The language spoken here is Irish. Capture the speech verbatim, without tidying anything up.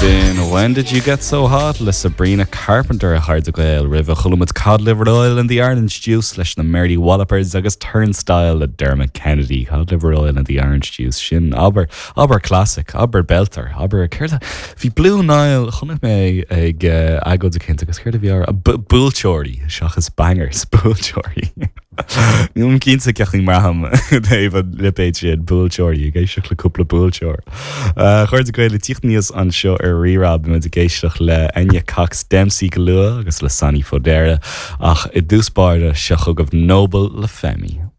Sin When Did You Get So Hot le Sabrina Carpenter a chairde Gael roimhe chuala muid Cod Liver Oil and the Orange Juice leis na Mary Wallopers agus Turnstile le Dermot Kennedy Cod Liver Oil and the Orange Juice sin aber aber classic aber belter aber céard bhí Blue Nile chonaic mé ag uh, agóid éicint agus céard a bhí buailteoirí seachas bangers buailteoirí. Níl cinnte ceaching marham taobh an lipéid sin buailteoirí ag éisteacht le cúpla buailteoir. Chairde Gael le tíocht aníos anseo ar Rí-Rá muid ag éisteacht le Enya Cox Dempsey go luath agus le Sonny Fodera ach i dtús báire seo chugaibh Noble le Femi.